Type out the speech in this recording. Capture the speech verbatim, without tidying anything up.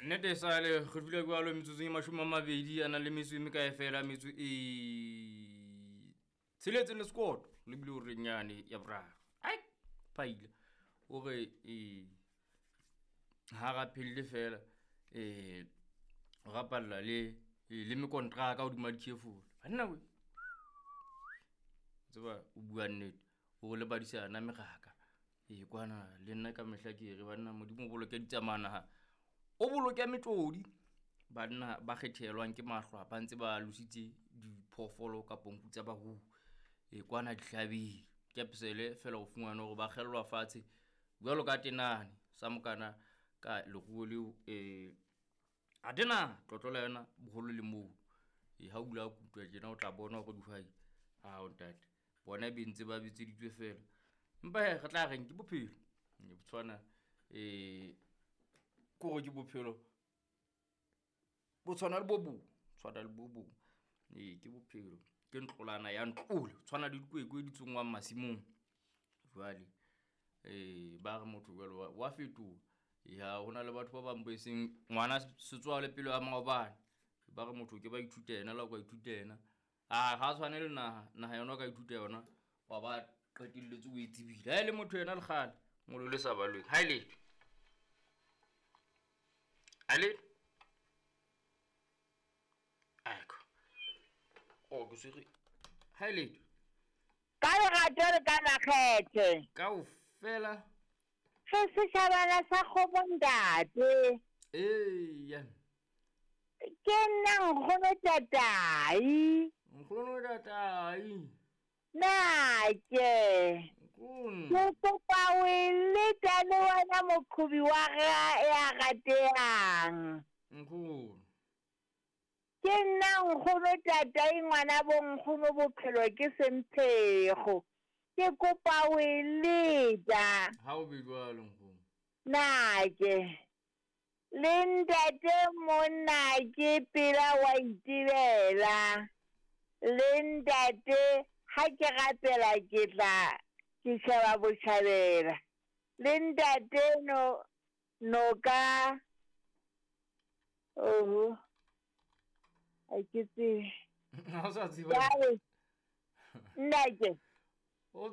Nnete sale re dula jwalo metsotsong e mashome a mabedi a nang le metso e mekae fela metso e tsheletseng le sekoto le bile o renyane ya boraro. Ai phaila o re e ha rapelle fela eh o rapalla le le mekontraka hodima dikefolo. Banna we. Tseba o bua nnete o le badisana meraka. E kwana le nna ka mehla ke re banna Modimo o boloke ditsamana. O boloke metlodi banna ba kgethelwang ke mahlwa ba ntse ba lositse diphoofolo kapa nku tsa barui. E kwana dihlabeng ke pesele fela o fumane hore ba kgellwa fatshe jwalo ka tenane sa mokana ka leruo leo eh a tena tlotlo la yona boholo le moo. E ha o dula kutwa tjena o tla bona hore dihwai ha o ntate bona be ntse ba bitseditswe fela. Empa he re tla reng ke bophelo. E tshwana eh kore ke bophelo bo tshwana le bo bong, tshwana le bo bong. Ee, ke bophelo ke ntlolana ya ntlole tshwana le dikwekwe di tsongwang masimong. Jwale eh ba re motho jwale wa, wa fetoha. Ya hona le batho ba bang bo seng ngwana setswale pelo ya maobane. Ba re motho ke ba ithuta yena la ka ithuta yena. Ah ha tshwane le naha, naha yona o ka ithuta yona wa ba qetelletse o e tsebile. Ha e le motho yena le kgale ngolo le sa balweng. Ha e letho. Ale Ecco. Oh, ke swere. Ha e letho. Ka lerato le ka makgethe. Kaofela. Re setjhabana sa kgopo ntate. Eya. Ke nna nkgono tatai. Nkgono tatai. Nake. Nkgono. Ke kopa o e leta le wena moqhobi wa ra ya ratehang. Nkgono. Ke nna nkgono tatai ngwana bo nkgono bophelo ke semphego. Ke kopa o e leta. Ha o be jwalo nkgono. Nake. Le ntate monna ke pela wa itebela. Le ntate ha ke rapela ke tla ke sheba botjhabela. Le ntate no no ka oho a ke tsebe. Ha o sa tseba. Jwale, nnake.